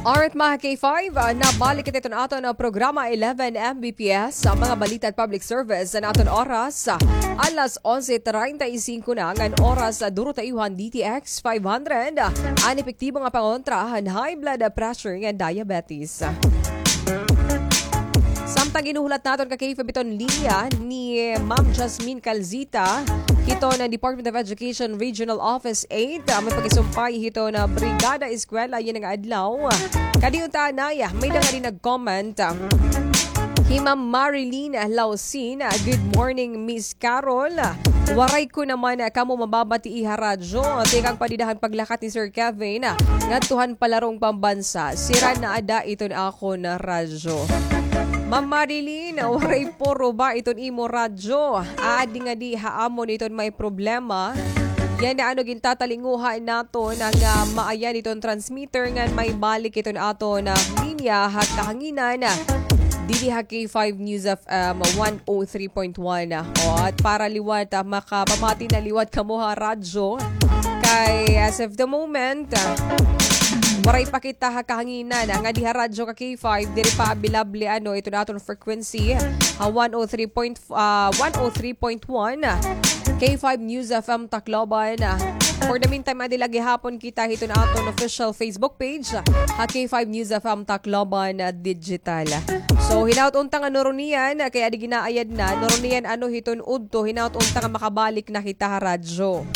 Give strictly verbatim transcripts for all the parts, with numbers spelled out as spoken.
Alright, mga K five, ah, nabalik kita iton aton, ah, programa eleven M B P S, sa mga balita at public service sa aton oras. Ah, alas onse treinta y cinco na ngan oras, ah, duro ta iyo han D T X five hundred, ah, an epektibo nga pangontra han high blood pressure ngan diabetes. Samtang ginhuhulat naton ka K five iton linya ni Ma'am Jasmine Calzita, hiton Department of Education Regional Office eight, ah, may pakigsumpay hiton Brigada Eskwela yana nga adlaw. Kadi unta anay, may-ada ngadi nag-comment. Hi Ma'am Marilyn Lausin, "Good morning, Miss Carol. Waray ko naman kamo mababatii ha radyo. Tikang pa dida han paglakat ni Sir Kevin ngadto han palarong pambansa. Sira na ada iton akon radyo." Ma'am Marilyn, waray po ruba iton imo radyo. Aadi ngadi ha amon iton may problema. Yana ano gintatalinguha naton nga, ah, maayan iton transmitter ngan maibalik iton aton, ah, linya ha kahanginan, ah, didi ha K five News F M one oh three point one. O, at para liwat, ah, makapamati na liwat kamo ha radyo. Kay as of the moment, ah, waray pa kita ha kahanginan, ah, ngadi ha radyo ka K five, diri pa available, ano, iton aton frequency ha one oh three point, ah, one oh three point one K five News F M Tacloban. For the meantime, adi la gihapon kita hiton aton official Facebook page ha K five News F M Tacloban Digital. So, hinaot unta nga nuruniyan, kay adi ginaayad na, nuruniyan ano hiton udto, hinaot unta nga makabalik na kita ha radyo.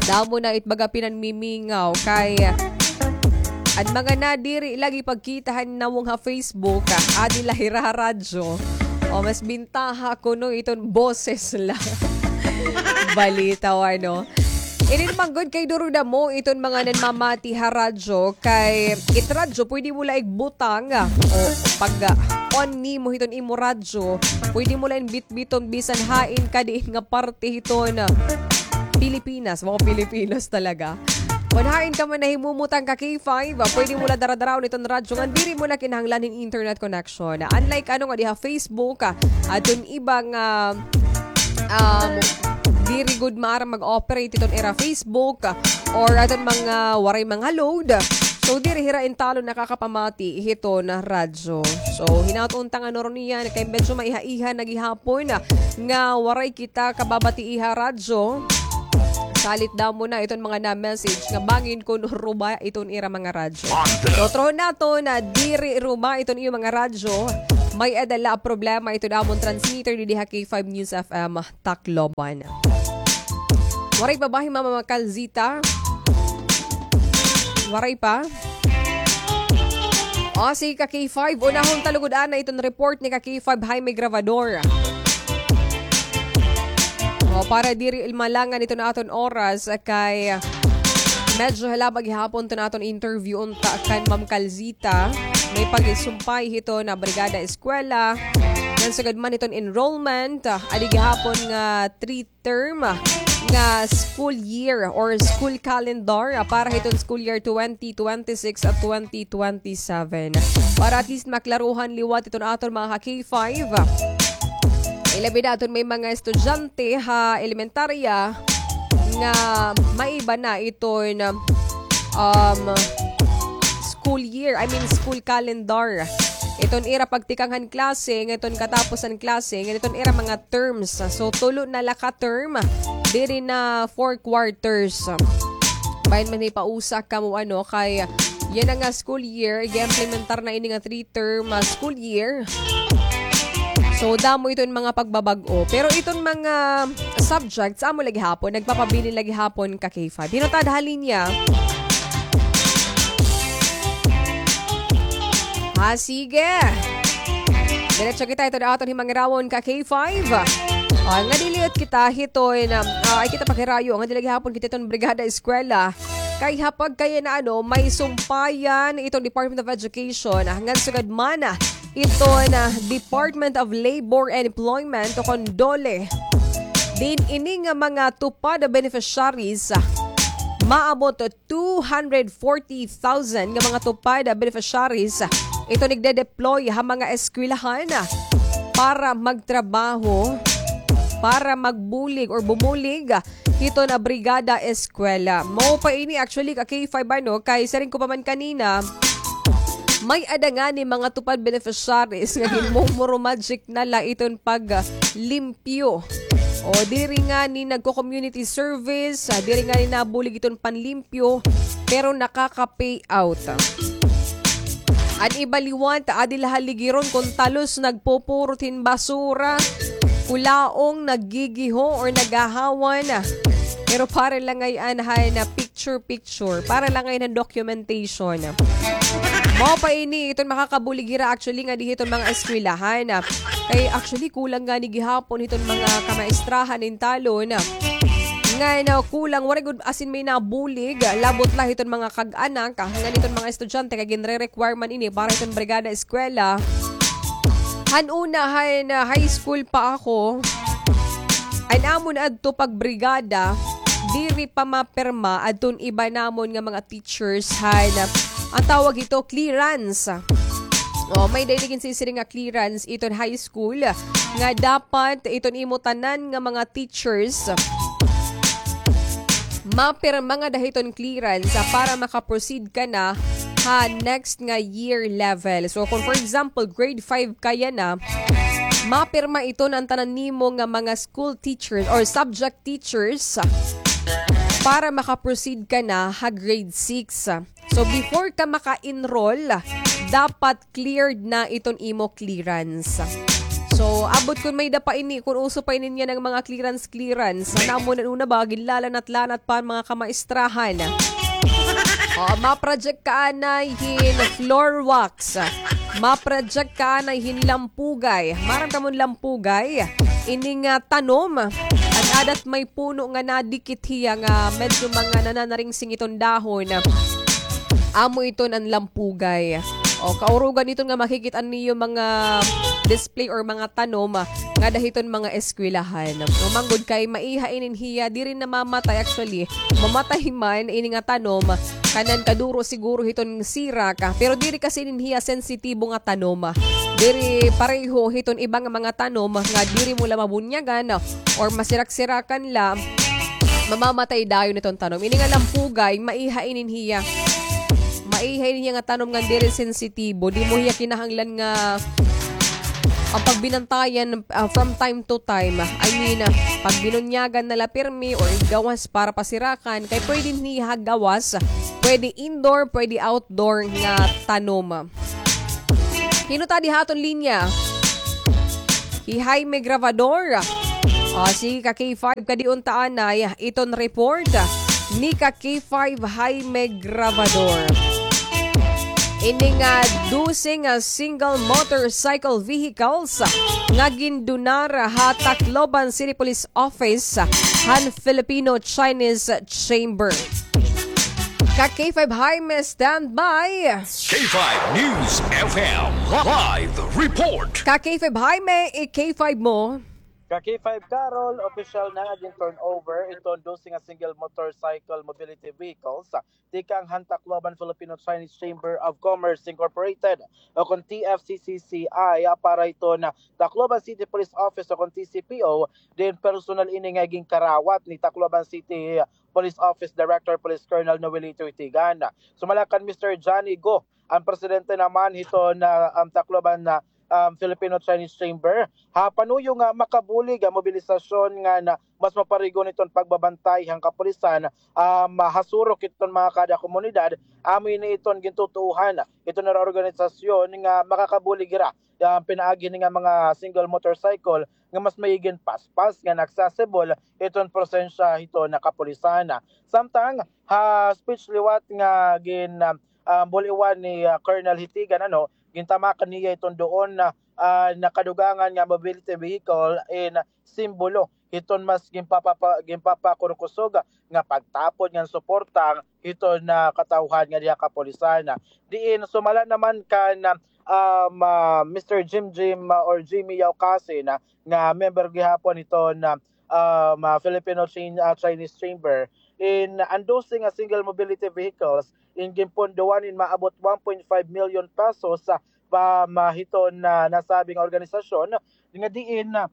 Damo na it baga pinanmimingaw kay an mga nadiri lagi pagkita han nawong ha Facebook, ah, adi la hira ha radyo. O, mas bintaha kuno iton boses la. Balita o ano. Ini naman gud kay duro damo iton mga nanmamati ha radyo kay it radyo pwede mo la igbutang, ah, o pag, ah, on nimo hiton imo radyo, pwede mo la in bitbiton bisan hain ka diin nga parte hiton, ah, Pilipinas, mga Pilipinas talaga. Kon hain ka man nahimumutang ka K five, ah, pwede mo la daradaraon iton radyo ngan diri mo na kinahanglan hin internet connection. Unlike ano nga diha Facebook, ah, adton iba nga, um, diri gud maaram mag-operate iton ira Facebook, ah, or adton mga waray mga load. So, diri hira intawon nakakapamati hiton radyo. So, hinaot unta nga nuruniyan kay medyo maiha-iha na gihapon nga waray kita kababatii ha radyo. Salit damo na iton mga na-message nga bangin kon ruba iton ira mga radyo. So, trohon naton nga diri ruba iton iyo mga radyo. May-ada la problema iton amon transmitter didi ha K five News F M Tacloban. Waray pa ba hi Ma'am Calzita? Waray pa? O, sige ka K five, unahon ta lugod anay iton report ni ka K five Jaime Gravador. O, para diri malangan iton aton oras, kay medyo halaba gihapon iton aton interview unta kan Ma'am Calzita. May pakigsumpay hiton Brigada Eskwela. Ngan sugad man hiton enrollment, ah, adi gihapon nga three term, ah, nga school year or school calendar, ah, para hiton school year twenty twenty-six at twenty twenty-seven. Para at least maklaruhan liwat iton aton mga ka K five. Ilabi na aton may mga estudyante ha elementarya nga maiba na iton, um, school year, I mean school calendar. Iton ira pagtikang han klase, ngan iton katapos han klase, ngan iton ira mga terms. So, tulo na la ka term, diri na four quarters. Bahin man ipausa kamo, ano, kay yana nga school year, ig-implementar na ini nga three term, ah, school year. So, damo iton mga pagbabag-o. Pero iton mga subjects, amo la gihapon, nagpapabilin la gihapon ka K five. Hinotad ha linya. Ha, sige. Diretso kita, ito na aton himangirawon ka K five. Ah, nga diliyot kita hiton, ah, ay kita paghirayo, nga dili gihapon kita iton Brigada Eskwela. Kay ha pagkaya na, ano, may sumpayan iton Department of Education, ah, ngan sugad man, ah, iton, ah, Department of Labor and Employment o kon DOLE. Diin ini nga mga TUPAD beneficiaries, ah, maabot two hundred forty thousand nga mga TUPAD beneficiaries, ah, iton igde-deploy ha mga eskwelahan, ah, para magtrabaho, para magbulig or bumulig, ah, hiton Brigada Eskwela. Mao pa ini actually ka K five, ano, kay siring ko pa man kanina, May-ada ngani mga TUPAD beneficiaries nga ginmumuro magic na la iton pag, ah, limpyo. O, diri ngani nagko-community service, ah, diri ngani nabulig iton panlimpyo, pero nakaka-payout. An iba liwat, adi la haligiron kon talos nagpupurot hin basura, kulaong, naggigiho, or naghahawan. Pero para la ngay-an han picture-picture, para la ngay-an han documentation. Mao pa ini iton makakabulig hira actually ngadi hiton mga eskwelahan. Kay actually kulang ngani gihapon hiton mga kamaistrahan hin talon. Ngan kulang, waray gud as in may nabulig, labot la hiton mga kag-anak, ngan hiton mga estudyante kay ginre-require man ini para hiton brigada eskwela. Han una, han, ah, high school pa ako, an amon adto pagbrigada, diri pa mapirma adton iba namon nga mga teachers han, ah, an tawag hito, clearance. O, may-ada ini ginsisiring nga clearance iton high school nga dapat iton imo tanan nga mga teachers mapirma ngada hiton clearance, ah, para maka-proceed ka na ha next nga year level. So, kung for example, grade five ka yana, mapirma iton an tanan nimo nga mga school teachers or subject teachers para maka-proceed ka na ha grade six. So, before ka maka-enroll, dapat cleared na iton imo clearance. So, ambot kon may-ada pa ini, kon uso pa ini niyan an mga clearance, clearance. An amon an una ba, ginlalanat-lanat pa an mga kamaistrahan. O, ma-project ka anay hin floor wax. Ma-project ka anay hin lampugay. Maaram kamo hin lampugay? Ini nga tanom. An adat may puno nga nadikit hiya nga medyo mga nananaringsing iton dahon. Amo iton an lampugay. O, kaurugan iton nga makikit-an niyo mga display or mga tanom, ah, ngada hiton mga eskwelahan. O, man gud kay maiha inin hiya, diri namamatay actually. Mamatay man ini nga tanom, kanan kaduro siguro hiton sirak, ah, pero diri kasi inin hiya sensitibo nga tanom, ah. Diri pareho hiton iba nga mga tanom nga diri mo la mabunyagan, ah, or masirak-sirakan la, mamamatay dayon iton tanom. Ini nga lampugay, maiha inin hiya. Maiha inin hiya nga tanom nga diri sensitibo. Di mo hiya kinahanglan nga an pagbinantayan, ah, from time to time. I mean, ah, pagbinunyagan na la pirmi or igawas para pasirakan. Kay pwede niya gawas, pwede indoor, pwede outdoor nga tanom. Hin-o ta diha ha aton linya? Hi Jaime Gravador. Ah, sige, ka K five, kadi unta anay iton report ni ka K five Jaime Gravador. Ini nga dose nga single motorcycle vehicles nga gindonar ha Tacloban City Police Office han Filipino-Chinese Chamber. Ka K five Jaime, stand by. K five News F M live report. Ka K five Jaime, i-K five mo. Ka K five Carol, opisyal na nga gin-turnover iton dose nga single motorcycle mobility vehicles tikang han Tacloban Filipino-Chinese Chamber of Commerce Incorporated o kon T F C C C I para iton Tacloban City Police Office o kon T C P O, diin personal ini nga ginkarawat ni Tacloban City Police Office Director Police Colonel Noelito Itigan. Sumala kan Mister Johnny Go, an presidente naman hiton, ah, um, Tacloban na, um, Filipino-Chinese Chamber, ha panuyo nga makabulig an mobilisasyon ngan mas maparigon iton pagbabantay han kapulisan, um, ha surok hiton mga kada komunidad, amo ini iton gintutuohan hiton organisasyon nga makakabulig hira, um, pinaagi hini nga mga single motorcycle nga mas maigi nga paspas ngan accessible iton presensya hiton kapulisan. Samtang ha speech liwat nga gin, ah, ah, bul-iwan ni, ah, Colonel Hitigan, ano, gintamakan niya iton duon na, ah, nakadugangan nga mobility vehicle in simbolo hiton mas ginpapapa-, ginpapakurkusog nga pagtapod ngan suporta hiton, ah, katawhan nga diha kapulisan. Diin sumala naman kan, ah, um, ah, Mister Jim Jim, ah, or Jimmy Yaukasin, ah, nga member gihapon hiton, ah, um, ah, Filipino Chin-, ah, Chinese Chamber, in an dose nga single mobility vehicles in ginpondohan in maabot one point five million pesos, ah, pa, ma-, hiton, ah, nasabing organisasyon nga diin, ah,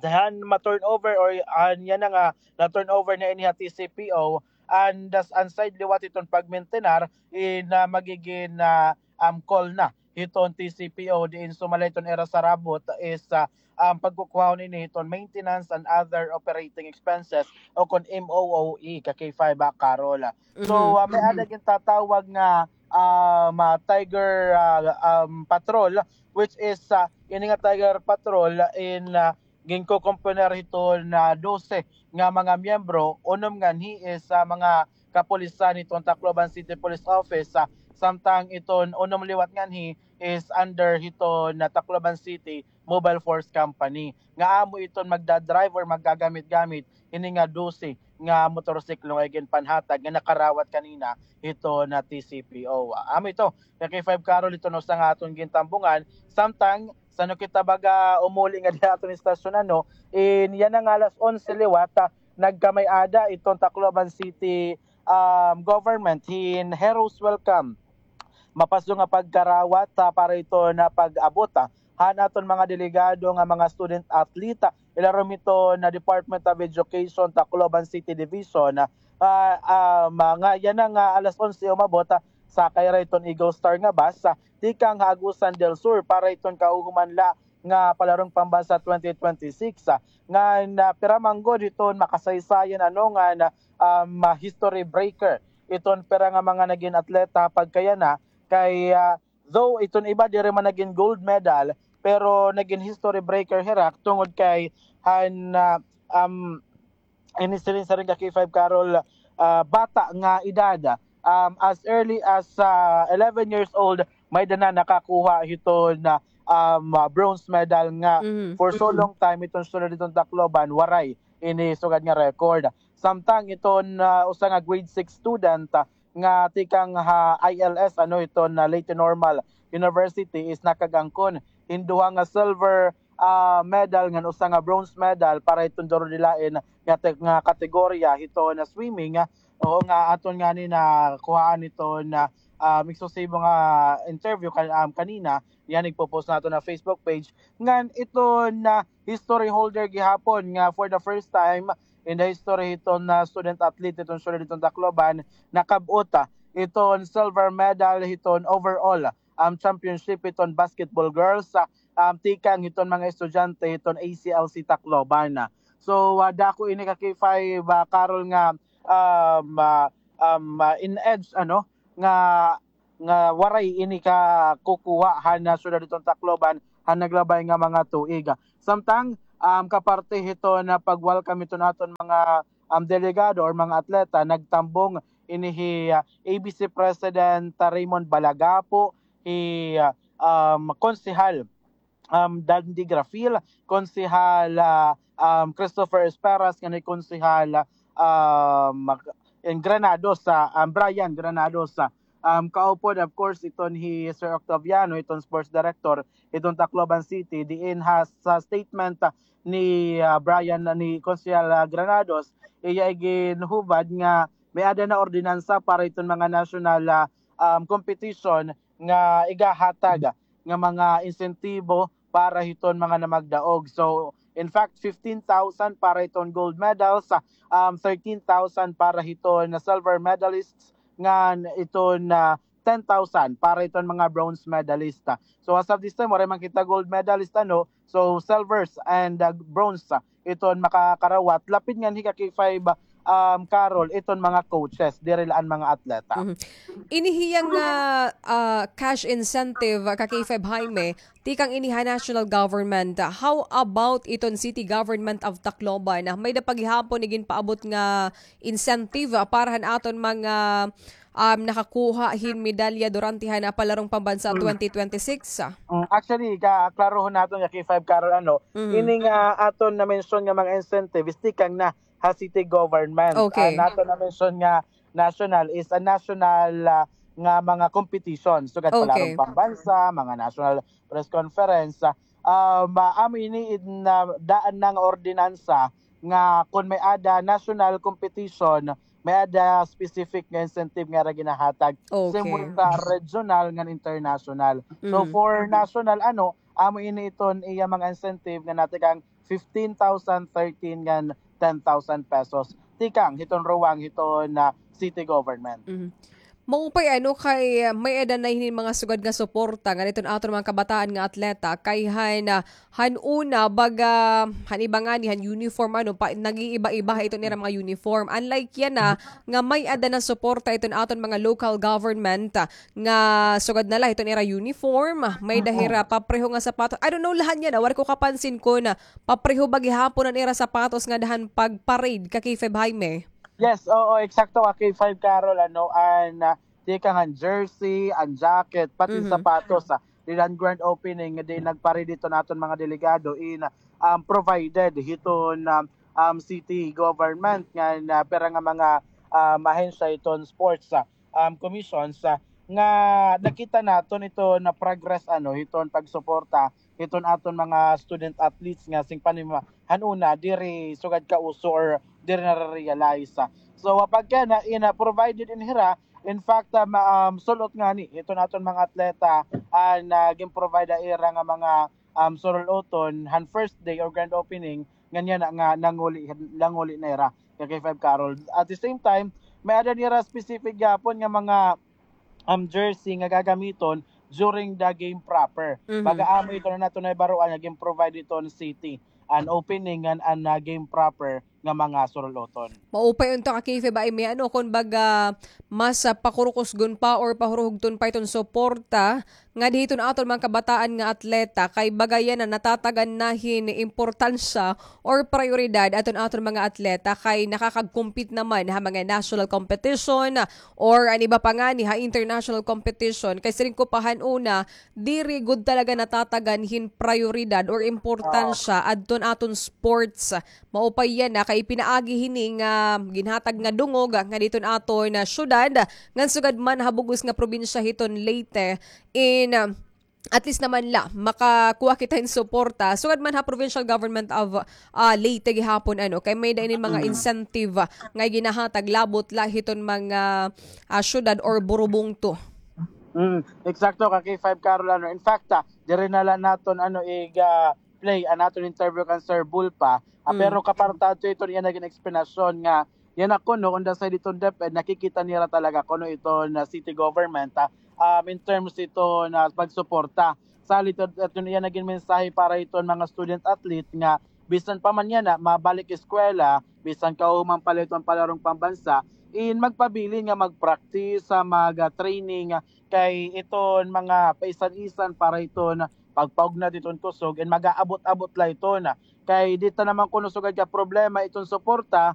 dahan ma-turnover or, ah, yana nga na-turnover na ini ha T C P O, and das-, an side liwat hiton pagmintenar in, ah, magigin, ah, um, call na hiton T C P O diin sumala hiton ira sarabot is, ah, um, pagkukuhahon ini hiton maintenance and other operating expenses o kon M O O E ka K five, ah, Carol. So, ah, may-ada gintatawag nga, um, ah, Tiger, ah, um, Patrol, which is, ah, ini nga Tiger Patrol in, ah, ginkokomponer hiton dose nga mga miyembro, unom nganhi is, ah, mga kapulisan hiton Tacloban City Police Office, ah, samtang iton unom liwat nganhi is under hiton Tacloban City Mobile Force Company. Nga amo iton magda-drive or maggagamit-gamit hini nga dose nga motorsiklo nga iginpanhatag nga nakarawat kanina hiton T C P O. Ah, amo ito, ka K five Carol, iton usa nga aton gintambungan. Samtang san-o kita baga umuli ngadi ha aton istasyon, ano, in yana nga alas onse liwat, ah, nagkamay-ada iton Tacloban City, um, government hin heroes welcome, mapaso nga pagkarawat, ah, para iton pag-abot, ah, han aton mga delegado nga mga student athlete, ah, ilarom hiton Department of Education, Tacloban City Division, ah, ah, um, nga yana nga alas onse umabot, ah, sakay hira hiton Eagle Star nga bus, ah, tikang ha Agusan del Sur para hiton kahuhuman la nga Palarong Pambansa twenty twenty-six, ah, ngan pira man gud hiton makasaysayan, ano, ngan, ah, um, ah, history breaker iton pira nga mga nagin atleta pagkayana kay, ah, though iton iba diri man nagin gold medal, pero nagin history breaker hira tungod kay han, ah, um, ini siring-siring ka K five Carol, ah, bata nga edad. Um, as early as, ah, eleven years old, may-ada na nakakuha hiton, ah, um, ah, bronze medal nga for so long time iton sulod hiton Tacloban, waray ini sugad nga record. Samtang iton, ah, usa nga grade six student, ah, nga tikang ha I L S, ano, iton Leyte Normal University is nakag-angkon hin duha nga silver, ah, medal ngan usa nga bronze medal para hiton duro dilain nga te-, nga kategorya hiton swimming, ah, o nga aton ngani nakuhaan hiton, ah, ah, eksklusibo nga interview kan-, um, kanina, yana igpo-post naton ha Facebook page. Ngan iton history holder gihapon nga for the first time in the history hiton, ah, student athlete hiton sulod hiton Tacloban, nakab-ot, ah, iton silver medal hiton overall, um, championship hiton basketball girls, ah, um, tikang hiton mga estudyante hiton A C L C Tacloban. So, ah, dako ini ka K five, ah, Carol, nga, um, ah, um, ah, in edge, ano, nga nga waray ini kakukuha han syudad hiton Tacloban han naglabay nga mga tuig. Samtang, um, kaparte hiton pag-welcome hiton aton mga, um, delegado or mga atleta, nagtambong ini hi, ah, A B C President, ah, Raymond Balagapo, hi, ah, um, Konsehal um, Dandy Grafil, Konsehal, ah, um, Christopher Esperas, ngan hi Konsehal, ah, um, in Granados, ah, um, Brian Granados, ah, um, kaupod, of course, iton hi Sir Octaviano, iton sports director, iton Tacloban City, diin ha, sa statement, ah, ni, ah, Brian, ah, ni Konsehal, ah, Granados, iya iginhubad nga may-ada na ordinansa para iton mga national, ah, um, competition nga igahatag nga mga insentibo para hiton mga namagdaog. So, in fact, fifteen thousand para hiton gold medals, um, thirteen thousand para hiton silver medalists, ngan iton, ah, ten thousand para hiton mga bronze medalist. So, as of this time, waray man kita gold medalist, ano? So, silvers and, ah, bronze, ah, iton makakarawat. Lapid nganhi ka K five, um, Carol, iton mga coaches, diri la an mga atleta. Mhm. Ini hiya nga, ah, cash incentive, ah, ka K five Jaime, tikang ini ha national government. How about iton city government of Tacloban? Ah, may-ada pa gihapon iginpaabot nga incentive, ah, para han aton mga, um, nakakuha hin medalya durante han, ah, Palarong Pambansa twenty twenty-six, ah? Mm, actually, ka-, klarohon naton nga K five Carol, ano, ini nga aton na-mention nga mga incentives, tikang na ha city government. Okay. An aton na-mention nga national is a national, ah, nga mga competition. Sugad Palarong Pambansa, mga national press conference, ah, um, ah, amo ini in, ah, daan na nga ordinansa nga kon may-ada national competition, may-ada specific nga incentive nga ira ginahatag. Okay. Same with, ah, regional ngan international. So, for national, ano, amo ini iton iya mga incentive nga natikang fifteen thousand, thirteen ngan ten thousand pesos tikang hiton ruwang hiton, ah, city government. Mhm. Maupay ano kay, ah, may-ada na hini mga sugad nga suporta nga diton aton mga kabataan nga atleta kay han, ah, han una baga han iba ngani han uniform ano pa, nag-iiba-iba ha iton ira mga uniform. Unlike yana nga may-ada na suporta iton aton mga local government, ah, nga sugad na la hiton ira uniform, ah, may-ada hira papreho nga sapatos. I don't know la han yana, waray ko kapansin kon, ah, papreho ba gihapon an ira sapatos ngada han pag-parade ka K five Jaime. Yes, oo, eksakto ka K five Carol, ano, an, ah, tikang an jersey, an jacket, pati sapatos, ah, dida han grand opening nga diin nag-parade iton aton mga delegado in, um, provided hiton, um, um, city government nga, ah, pira nga mga, um, ahensya hiton sports, ah, um, commissions, ah, nga nakita naton iton progress, ano, hiton pagsuporta hiton aton mga student athletes nga sing panima han una diri sugad kauso or diri nare-realize. So, ah, pagka na, in, ah, provided in hira, in fact, ah, ma-, um, sul-ot ngani hiton aton mga atleta an, ah, gin-provide ha ira nga mga, um, sul-uton han first day or grand opening, ngan yana nga nanguli, nanguli na hira ka K five Carol. At the same time, may-ada nira specific gihapon nga mga, um, jersey nga gagamiton during the game proper. Baga amo ito na naton nahibaroan nga gin-provide iton city an opening ngan an, ah, game proper nga mga sul-uton. Maupay unta ka K five Jaime, ano, kon baga mas, ah, pakurukusgon pa or pahuruhugton pa iton suporta ngadi hiton aton mga kabataan nga atleta kay baga yana natatagan na hin importansya or prayoridad aton aton mga atleta kay nakakag-compete naman ha mga national competition or an iba pa ngani ha international competition kay siring ko pa han una, diri gud talaga natatagan hin prayoridad or importansya adton aton sports. Maupay yana kay pinaagi hini nga ginhatag nga dungog nga diton aton syudad ngan sugad man ha bug-os nga probinsya hiton Leyte in, ah, at least naman la makakuha kita hin suporta sugad man ha provincial government of, ah, Leyte gihapon, ano, kay may-ada ini mga incentive, ah, nga ginahatag labot la hiton mga, ah, syudad or burubungto. Mm, eksakto ka K five Carol, ano. In fact, ah, diri na la naton, ano, iga-play an aton interview kan Sir Bulpa. Ah, pero kaparta adto iton iya nagin explanation nga yana kuno on the side iton DepEd, nakikita nira talaga kuno iton city government, ah, um, in terms iton pagsuporta. Salit adto iya nagin mensahe para iton mga student athlete nga bisan pa man yana mabalik eskwela, bisan kahuman pa la iton palarong pambansa, in magpabilin nga mag-practice, ah, mag, ah, training, ah, kay iton mga paisan-isan para iton pagpaugnat iton kusog, in mag-aabot-abot la iton. Kay dida naman kuno sugad ka problema iton suporta,